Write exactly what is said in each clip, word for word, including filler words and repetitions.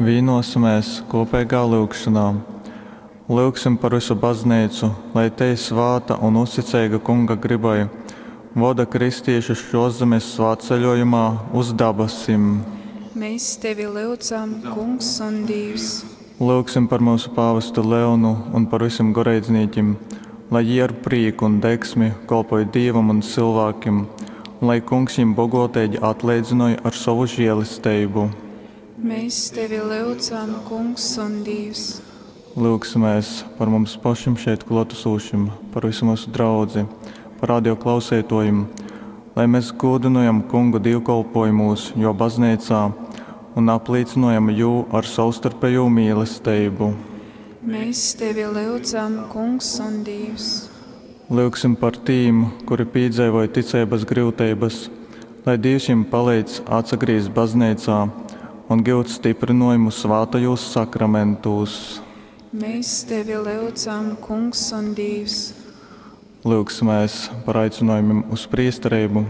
Vīnosimēs kopīgā lyugšanā. Lyugsim par vysu Bazneicu, lai tei svāta un uzticeiga Kunga grybai, voda kristīšus šōszemes svātceļōjumā uz dabasim. Mēs tevi lyudzam, Kungs un Dīvs. Lyugsim par myusu pāvestu Leonu un par vysim goreidznīkim, lai jī ar prīku un degsmi kolpoj Dīvam un cylvākim un lai Kungs jim bogōteigi atleidzynoj ar sovu želesteibu. Mēs tevi lyudzam, Kungs un Dīvs. Lyugsimēs par mums pašim šeit klōtasūšim, par visu myusu draudzi, par radio klauseitōjim, lai mes gūdynojam Kungu dīvkolpōjumūs Jō bazneicā un aplīcynojam Jū ar savstarpejū mīlesteibu. Mēs tevi lyudzam, Kungs un Dīvs. Lyugsim par tīm, kuri pīdzeivoj ticeibas gryuteibas, lai Dīvs jim paleidz atsagrīzt bazneicā un gyut styprynōjumu svātajūs sakramentūs. Mēs tevi lyudzam, Kungs un Dīvs. Lyugsimēs par aicinōjumim uz prīstereibu,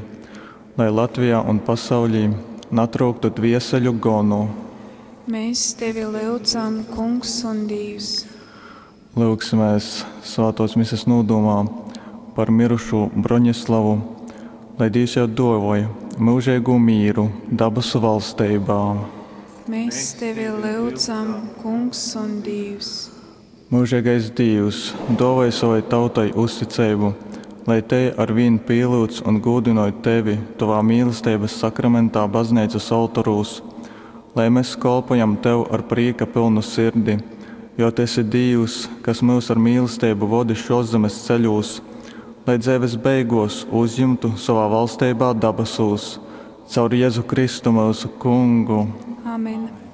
lai Latvijā un pasaulī natryuktu dvieseļu gonu. Mēs tevi lyudzam, Kungs un Dīvs. Lyugsimēs svātōs mises nūdūmā par mirušū Broņislavu, lai Dīvs jau dōvoj myužeigū mīru dabasu valsteibā. Mēs tevi lyudzam, Kungs un Dīvs. Myužeigais Dīvs, dōvoj savai tautai uzticeibu, lai tei arvīn pīlyudz un gūdynoj Tevi Tovā mīlesteibas sakramentā bazneicas oltorūs, lai mes kolpojam Tev ar prīka pylnu sirdi, jo Tu esi Dīvs, kas myus ar mīlesteibu vodi šōszemes ceļūs, lai dzeives beigōs uzjimtu sovā valsteibā dabasūs. Caur Jezu Kristu myusu Kungu. Amen.